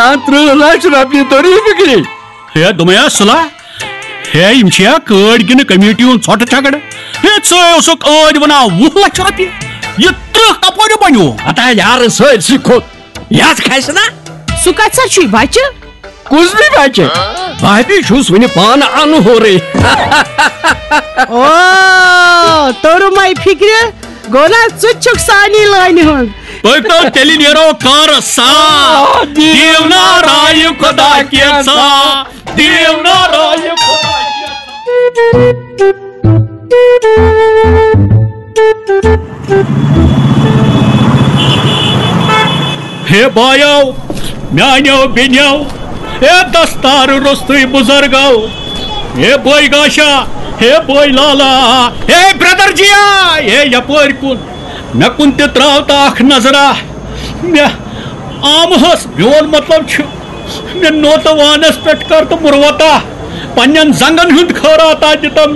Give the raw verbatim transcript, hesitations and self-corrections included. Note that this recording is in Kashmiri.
ترٕٛہ لچھ رۄپیہِ توٚرُے فِکرِ؟ ہے، دوٚپمَے ہا صلاح، ہے، یِم چھِ یا کٲڑۍ کِنہٕ کمیٹی ہُنٛد ژھۄٹہٕ چھکڑٕ؟ ہے، ژٕ اوسُکھ ٲدۍ وَنان وُہ لچھ رۄپیہِ، یہِ ترٕٛہ کپٲرۍ بنیو؟ ہتا یارٕ سٲرسٕے کھوٚت، یَتھ کھسہِ نا۔ سُہ کتہِ سا چھُے بچہِ؟ کُس بی بچہِ؟ بہٕ ہَے چھُس وُنہِ پانہٕ اَنہورٕے۔ او، توٚرمَے فِکرِ، گوٚو نا ژٕ تہِ چھُکھ سانی لٲنہِ ہُنٛد۔ پٔکۍ تو تیٚلہِ نیرو کارس سان۔ آ، دیٖو نا رایہِ خۄدا کینٛژھا، دیٖو نا رایہِ خۄدا کینٛژھا۔ ہے بایو، میانیو بیٚنیو، ہے دستار روٚستُے بُزرگو، ہے بٲے گاشا، ہے بٲے لالا، ہے برٛدر جیا، ہے یپٲرۍ کُن، مےٚ کُن تہِ تراو تہٕ اکھ نظرا۔ مےٚ آمہٕ ہس، میون مطلب چھُ، مےٚ نوتہٕ وانس پٮ۪ٹھ کر تہٕ مُروتا پننٮ۪ن زنگن ہُنٛد خٲراتا دِتم